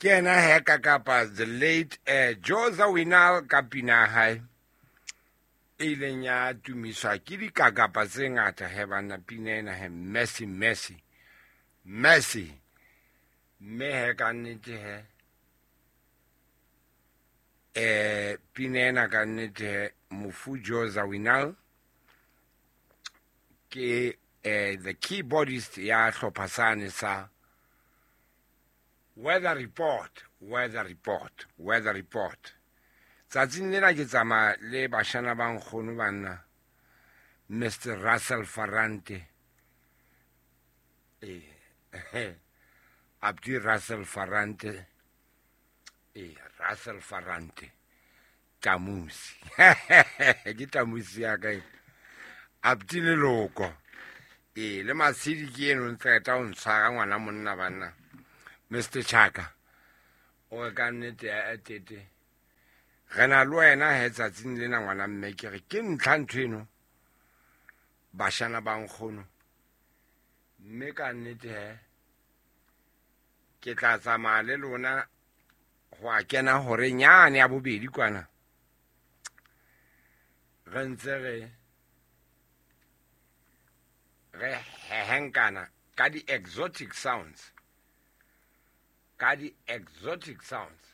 Ke yena he ka kapa the late Joe Zawinul ka pina ya hae e ileng ya tumiswa ke dikakapa tse ngata he banna, pina ena he, Mercy, Mercy, Mercy. Mme he ka nnete he, pina ena ka nnete he, mofu Joe Zawinul ke the keyboardist ya hlopha sane sa Weather Report, Weather Report, Weather Report. Tsatsing lena ke tsamaya le bashana ba nkgono banna, Mr Russell Farante, Abdi Russell Farante, Russell Farante Tamusi. Ke Tamusi ya ka e. Abdi Leloko. Le Matshedi ke eno ntse qeta ho ntshwara ngwana monna banna. Mr Chaka. O re ka nnete ya tete. Re na le wena he tsatsing lena ngwana mme, ke re ke ntlha ntho eno. Bashana ba nkgono. Mme ka nnete he ke tla tsamaya le lona ho a kena hore nyane ya bobedi kwana. Re ntse re hehenkana ka di-exotic sounds. Ka di-exotic sounds.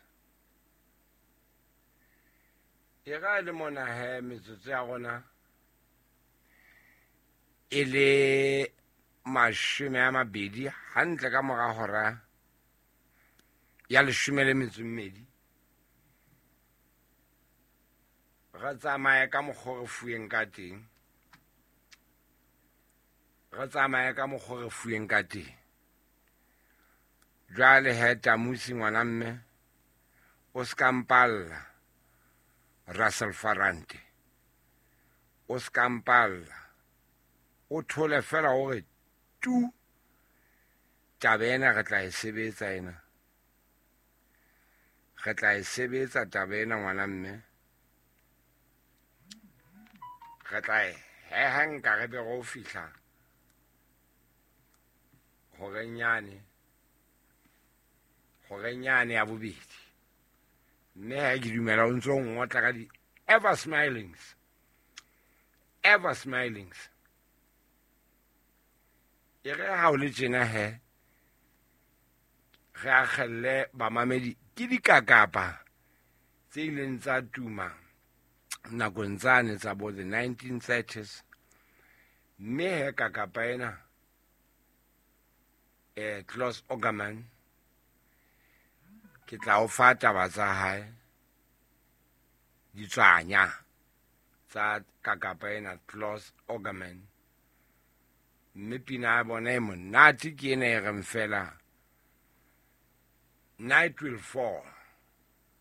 E ra le mona he metsotso ya rona e le 20 hantle ka mora hora ya leshome le metso e mmedi. Re tsamaye ka mokgwa re fuweng ka teng. Re tsamaye ka mokgwa re fuweng ka teng. Jwale he Tamusi ngwana mme, o ska mpalla Russell Farante. O ska mpalla. O thole fela hore tu taba ena re tla e sebetsa ena. Re tla e sebetsa taba ena ngwana mme. Re tla e heha nka re be re o fihla hore nyane ya bobedi. Mme ha ke dumela o ntso ngotla ka di ever smilings, ever smilings. E re ha o le tjena he, re akgelle bamamedi ke dikakapa tse ileng tsa tuma nakong tsane tsa bo the 1930s. Mme he kakapa ena, Claus Ogerman, ke tla o fa taba tsa hae, ditswanya tsa kakapa ena Claus Ogerman. Mme pina ya bona e monate ke ena e reng fela Night Will Fall.